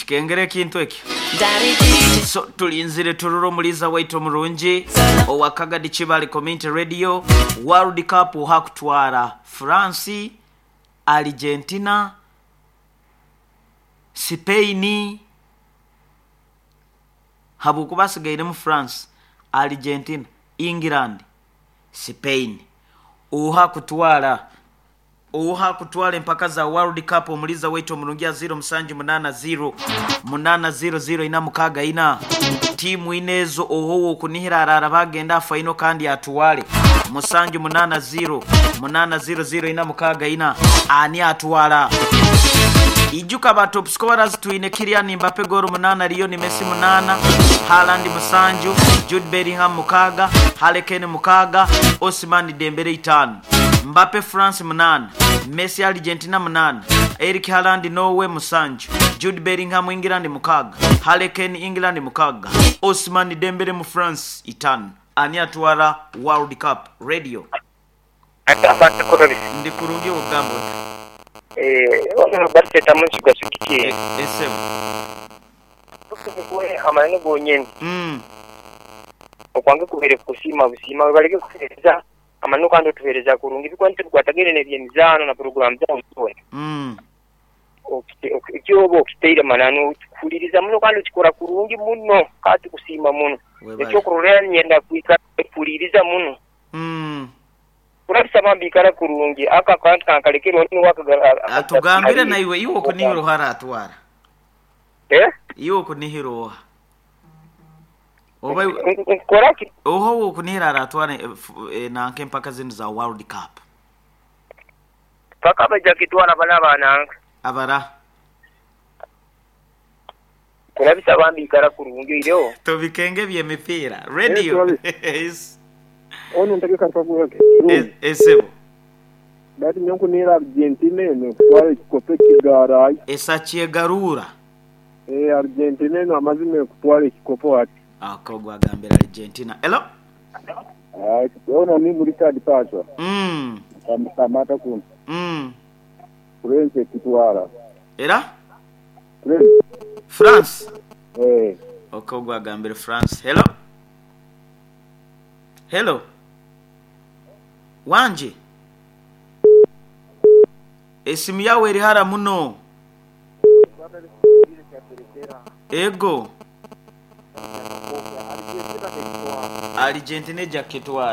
Tukikengere ekintu ekyo. So tulinzire turore omuliiza waitu omurungi owa Kagadi Kibale Community Radio, World Cup oha kutwara France, Argentina, Spain, habwokuba hasigairemu France, Argentina, England, Spain. Oha kutwara? Oha kutwara empaka za World Cup omuliiza waitu omurungi aziire omusanju munaana ziiro munaana ziiro ziiro ina mukaaga ina. Tiimu ina ezo oha ow'okunihira araaraba agende aha faino kandi atware. Musanju munaana ziiro munaana ziiro ziiro ina mukaaga ina. Ani atwara? Ijuka ba top scorers twine Kylian Mbappe goolo munaana, Lionel Messi munaana, Haaland musanju, Jude Bellingham mukaaga, Harry Kane mukaaga, Ousmane Dembele itaanu. Mbappe France munaana, Messi Argentina munaana, Erling Haaland Norway musanju, Jude Bellingham England mukaaga, Harry Kane England mukaaga, Ousmane Dembele mu France itaanu. Ani atwara World Cup? Radio. Ndi kurungi ogamba ota? Esebo. Amananu kandi otuhereza kurungi ebikuba nitubikwatagaine n'ebyemizaano na puroguraamu zaawe zoona. Eki oba okitaire mananu tukuhuliriza muno kandi okikora kurungi muno ka tukusiima muno. Webale. Ekyokuroreraho niinyenda kwikara nkuhuliriza muno. Kurabisa bambi ikara kurungi ako akantu kankarekere onu niwe Atugambire naiwe iwe okunihira oha aratwara? Eh? Iwe okunihira oha? Oba iwe Nkukora ki? oha owokunihira aratwara nanka empaka zinu za World Cup? Paka baija kitwara bano abananka. Abara. Kurabisa bambi ikara kurungi oireho. Tobikenge eby'emipiira. Radio. Yes. Onu ntegeka Esebo. Bati nyowe nkunihira Argentina eno kutwara ekikopo ekigarayo. Esakyegaruura. Eh, Argentina eno amazima ekutwara ekikopo hati. Ako gwagambira Argentina. Hello? Ah, ono ni Richard Pasha. Kamata kuno. France ekitwara. Era? France. France. Eh. Oko gwagambira France. Hello? Hello? Wangi? Esimu yawe eri hara muno. Ego. Argentina eja kukitwara.